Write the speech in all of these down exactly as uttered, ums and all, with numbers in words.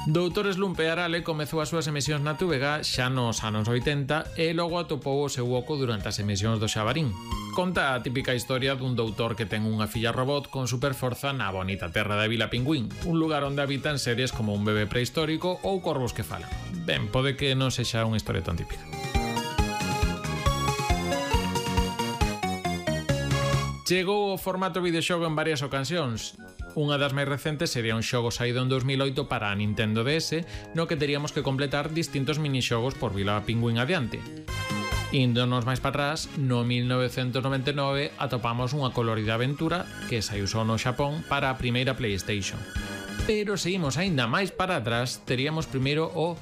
Doutor Slump e Arale comezou as súas emisións na T V G xa nos anos oitenta e logo atopou o seu oco durante as emisións do Xabarín. Conta a típica historia dun doutor que ten unha filla robot con superforza na bonita terra da Vila Pingüín, un lugar onde habitan seres como un bebé prehistórico ou corvos que falan. Ben, pode que non sexa unha historia tan típica. Chegou o formato videoxogo en varias ocasións. Unha das máis recentes sería un xogo saído en dos mil oito para a Nintendo D S, no que teríamos que completar distintos minixogos por Vila Pingüín adiante. Índonos máis para atrás, no mil novecentos noventa e nove atopamos unha colorida aventura que saiu só no Xapón para a primeira PlayStation. Pero seguimos aínda máis para atrás, teríamos primeiro o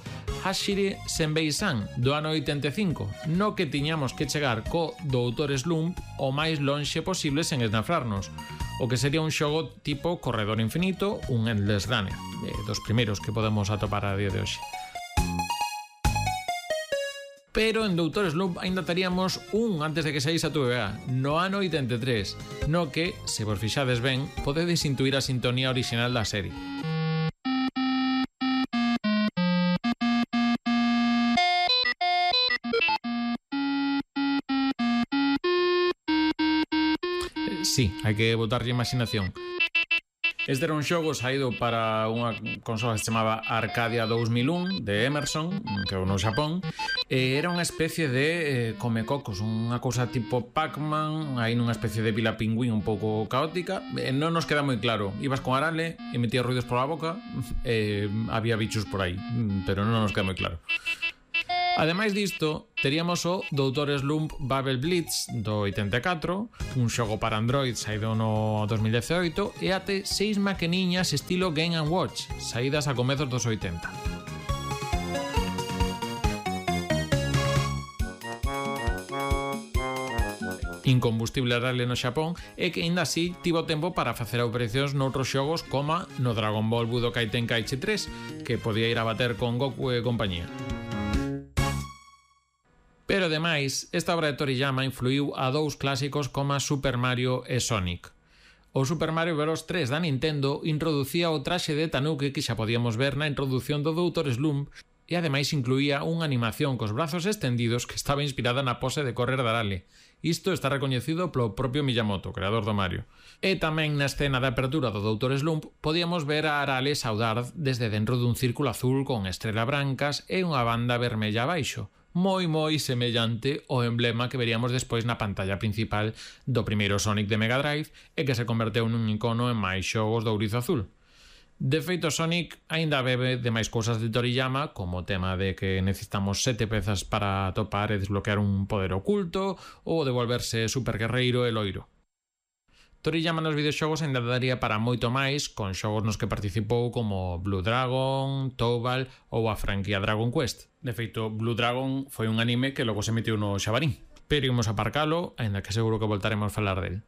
Hashire Senbei-san do ano oitenta e cinco, no que tiñamos que chegar co Doutor Slump o máis lonxe posible sen esnafrarnos, o que sería un xogo tipo Corredor Infinito, un Endless Runner, eh, dos primeiros que podemos atopar a día de hoxe. Pero en Doutor Slump ainda teríamos un antes de que saíse a T V G, no ano oitenta e tres, no que, se vos fixades ben, podedes intuir a sintonía orixinal da serie. Sí, hai que botarlle imaginación. Este era un xogo saído para unha consola que se chamaba Arcadia dous mil un de Emerson, que é no Xapón, e era unha especie de eh, comecocos, unha cousa tipo Pac-Man, aí nunha especie de Vila Pingüín un pouco caótica, e non nos queda moi claro. Ibas con Arale, emitías ruidos pola boca, e había bichos por aí, pero non nos queda moi claro. Ademais disto, teríamos o Doutor Slump Bubble Blitz do oitenta e catro, un xogo para Android saído no dos mil dezioito, e até seis maqueniñas estilo Game and Watch, saídas a comezos dos oitenta. Incombustible Arale no Xapón e que aínda así tivo tempo para facer operacións noutros xogos como no Dragon Ball Budokai Tenkaichi tres, que podía ir a bater con Goku e compañía. Pero ademais, esta obra de Toriyama influiu a dous clásicos como Super Mario e Sonic. O Super Mario Bros. tres da Nintendo introducía o traxe de Tanuki que xa podíamos ver na introdución do Doutor Slump e ademais incluía unha animación cos brazos estendidos que estaba inspirada na pose de correr de Arale. Isto está recoñecido polo propio Miyamoto, creador do Mario. E tamén na escena de apertura do Doutor Slump podíamos ver a Arale saudar desde dentro dun círculo azul con estrela brancas e unha banda vermella abaixo, moi moi semellante ao emblema que veríamos despois na pantalla principal do primeiro Sonic de Mega Drive e que se converteu nun icono en máis xogos do ourizo azul. De feito, Sonic aínda bebe de máis cousas de Toriyama, como o tema de que necesitamos sete pezas para atopar e desbloquear un poder oculto ou de volverse super guerreiro e loiro. Toriyama nos videoxogos ainda daría para moito máis, con xogos nos que participou como Blue Dragon, Tobal ou a franquía Dragon Quest. De feito, Blue Dragon foi un anime que logo se emitiu no Xabarín. Pero imos aparcalo, aínda que seguro que voltaremos a falar del.